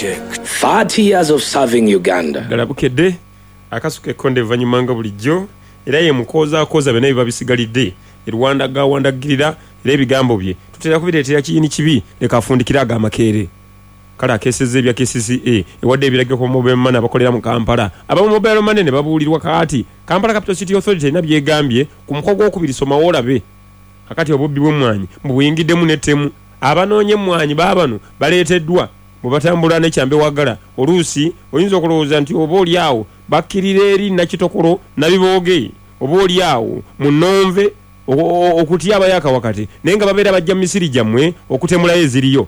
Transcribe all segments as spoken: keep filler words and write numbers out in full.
Check. thirty years of serving Uganda. Ddala Bukedde akasuka ekkonde evvannyuma nga bulijjo, era ye mukoozakooza byonna ebiba bisigalidde e Rwanda gawandagirira, era ebigambo bye tutera kubireetera kiyini kibi. Leka afundikire ag'amakeere. Kale akeesezza ebya K C C A, ewadde ebiragiro ku mobile money abakolera mu Kampala. Aba mobile money ne babuulirwa. Kaati Kampala Capital City Authority erina byegambye ku muko gwokubiri, somawo olabe. Kakati obubbi bw'emmwanyi mubuyingiddemu n'ettemu. Abanoonya emmwanyi baabano baleeteddwa bwe batambula nekyambe wagala. Oluusi oyinza okulowooza nti oba oli awo bakkirira eri Nakitokolo Nabibooge, oba oli awo mu Nonve okutya abayaka wakati, naye nga babeera bajja mu misiri gyammwe okutemulayo eziriyo.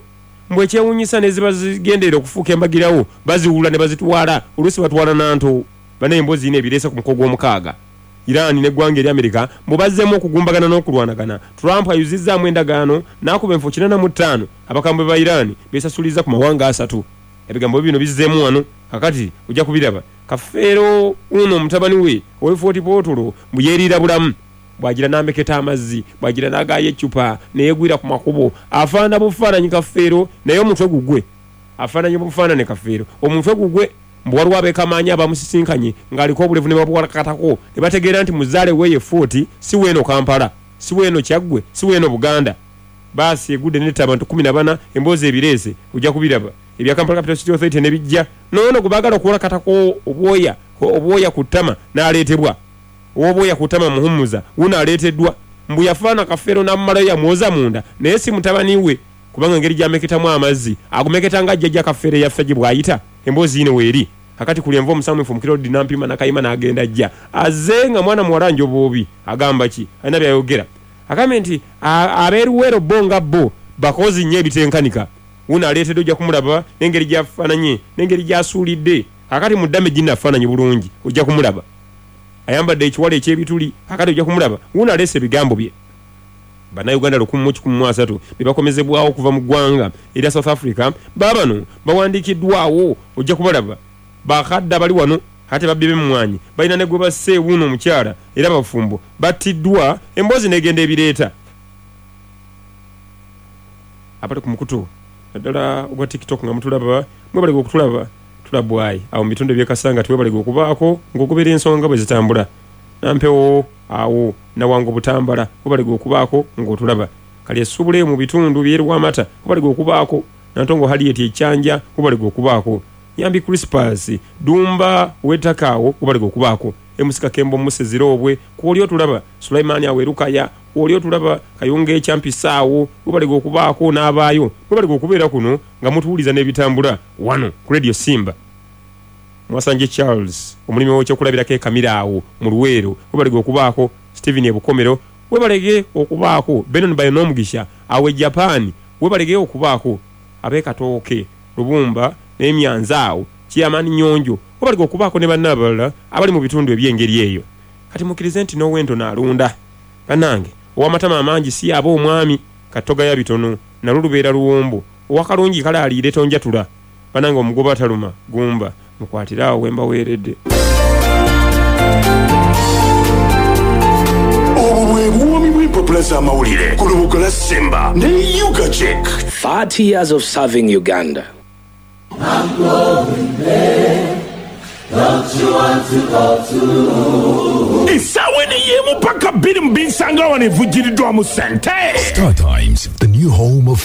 Mbwe ekyewuunyisa, neziba zigenderera okufuuka embagirawo baziwula ne bazitwala, oluusi batwala nanto. Banaye emboozi yina ebireese ku muko gw'omukaaga. Iran n'eggwanga eri Amerika mbu bazzeemu okugumbagana n'okulwanagana. Trump ayuzizzaamu endagaano n'akuba enfo kinaana mu ttaano. Abakambwe ba Iran besasuliza ku mawanga asatu. Ebigambo bino bizzeemu wano, kakati ojja kubiraba. Kafeero uno omutabani we ow'e Fort Portal mbu yeeriira bulamu, bwagira n'ameketa amazzi, bwagira n'agaayo eccupa neyegwira ku makubo. Afaana bufaananyi Kafeero, naye omutwe gugwe afaananye bufaanane Kafeero, omutwe gugwe. Mbu waliwo abeekamaanyi abamusisinkanye ng'aliko obulevu ne babuwalakatako ne bategeera nti muzaale weeye Fort, si weeno Kampala, si weeno Kyaggwe, si weeno Buganda. Baasi egudde netta abantu kumi na bana. Emboozi ebireese ojja kubiraba. Ebya Kampala Capital City Authority ne bijja noono gwe baagala okuwalakatako obwoya obwoya ku ttama n'aleetebwa. Ow'obwoya ku ttama muhumuza wuno aleeteddwa. Mbu yafaana Kafeero n'amumalayo, yamwoza munda, naye si mutabani we, kubanga engeri gyameketamu amazzi agumeketa nga jjajja Kafeero eyaffe gye bw'ayita. Emboozi yino weeri. Kakati kuli enva omusamufu mukirodi nampima nakayima n'agenda ajja azze nga mwana muwala njoboobi. Agamba ki? Alina byayogera. Agambye nti abeeruweero bo nga bo bakozi nnyo ebitenkanika. Wuno aleetedde, ojja kumulaba n'engeri gy'afaananye n'engeri gy'asuulidde. Kakati mu ddame ginnafaananyi bulungi, ojja kumulaba ayambadde ekiwala eky'ebituli. Kakati ojja kumulaba wuno aleese ebigambo bye. Bannayuganda lukumi mu kikumi mu asatu be bakomezebwawo okuva mu ggwanga erya South Africa. Baabano bawandiikiddwawo, ojja kubalaba. Bakadde abali wano ate babbi b'emmwanyi balina ne gwe basse. Wuuno omukyala era bafumbo battiddwa. Emboozi n'egenda ebireeta. Abali ku mukutu naddala ogwa TikTok nga mutulaba, mwebalege okutulaba. Tulabwayi awo mu bitundu ebyekasanga, tiwebalege okubaako ng'ogobera ensonga bwe zitambula. Nampewo awo Nawango Butambala, webalege okubaako ng'otulaba. Kali essubuleyo mu bitundu byerwamata, webalege okubaako. Nantongo Haliet Ekyanja, webalege okubaako. Nyambi Crispas Dumba wetaka awo, webalege okubaako. Emusika Kembo Musezirobwe kwoli otulaba. Sulaimani awerukaya kwoli otulaba. Kayunga Ekyampisa awo, webalege okubaako n'abaayo. Webalege okubeera kuno nga mutuwuliza n'ebitambula wano ku Radio Simba. Mwasanje Charles omulimi w'ekyokulabirako ekamira awo mu Luweero, webalege okubaako. Stephen Ebukomero, webalege okubaako. Benon Bayonomugisha awo e Japan, webalege okubaako. Ab'ekatooke Lubumba n'emyanza awo, Chairman Nyonjo, webalege okubaako ne banna abalala abali mu bitundu eby'engeri eyo. Kati mukkirize nti n'ow'entono alunda. Bannange, ow'amatama amangi si aba omwami katogaya bitono, nalwo lubeera luwombo. Owakalungi kale aliire tonjatula. Bannange, omugoba ataluma gumba, mukwatire awo wembaweeredde. Obwo bwe buwoomi bw'empapula z'amawulire ku lubuga lwa Simba ne Ugachek. thirty years of serving Uganda. I'm going there. Don't you want to go too? Essaawa eno ey'emu paka bbiri mu binsanga wano evujjiriddwamu ssente. Star Times, the new home of